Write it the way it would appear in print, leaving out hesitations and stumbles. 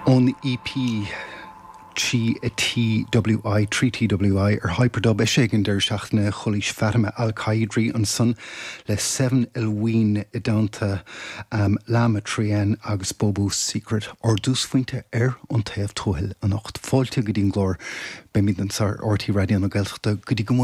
Ón EP 3TWI, 3TWI, ar Hyperdub, eisithe ag an deireadh seachtaine, chualaís Fatima Al Qadiri ansan le Seven Elween i dteannta Lama Trien agus Bobo Secret, ár dtúsphointe ar An Taobh Tuathail anocht. Fáilte go dtí an gclár. Beimid anseo ar RTÉ Raidió na Gaeltachta go dtí go mbuailfidh.